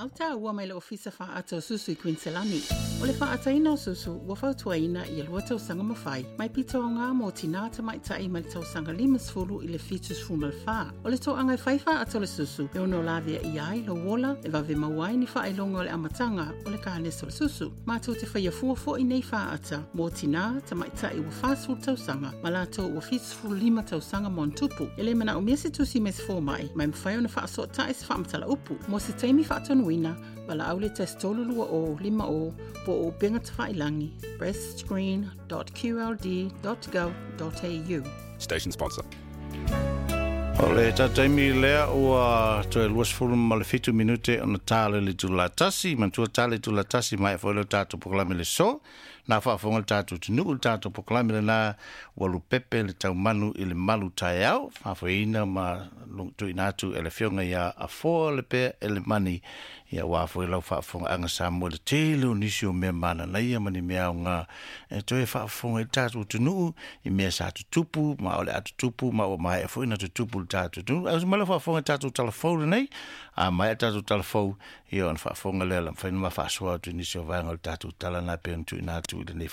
feau taua mai le Ofisa Faaata o Susu i Kuiniselani. O le faaataina o susu ua fautuaina ia 2 tausaga ma fai, mai pito aoga mo tinā tamaitai mai le tausaga 50 i le 74. O le toaga e fai faaata o le susu e ono laveaia ai lou ola e vave maua ai ni faailoga o le amataga o le kanesa o le susu. Matou te faia fua foi nei faaata mo tinā tamaitai ua 40 tausaga ma latou ua 75 tausaga ma ona tupu. E le manaomia se tusi mai se fomai, ma e mafai ona faasootai se faamatala upu. Mo se taimi faatonuina, valaau le 1 320 50 po o upega tafailagi breastscreen.qld.gov.au. Station sponsor. O le taimi lea ua toe 27 minute ona tā le itula 1, manatua tā le itula 1 mai foi le tatou polokalame le so. Na faafofoga le tatou atunuu le tatou polokalame lena ua lupepe le taumanu i le malu taeao, faafoeina ma tuuina atu e le afioga ia Afoa le pea e le mani ia ua foi lau faafofogaaga Samoa le tele o nisi o mea mananaia ma ni mea aoga e toe faafofoga i le tatou atunuu i mea sa tutupu ma o le a tutupu ma ua maea foi na tutupu le tatou atunuu. Ae ma lau faafofoga i tatou talafou lenei, a maea tatou talafou ia ona faafofoga lea la mafai ona faasoa atu i nisi o vaega o le tatou tala na pe ona tuuina atu i lenei.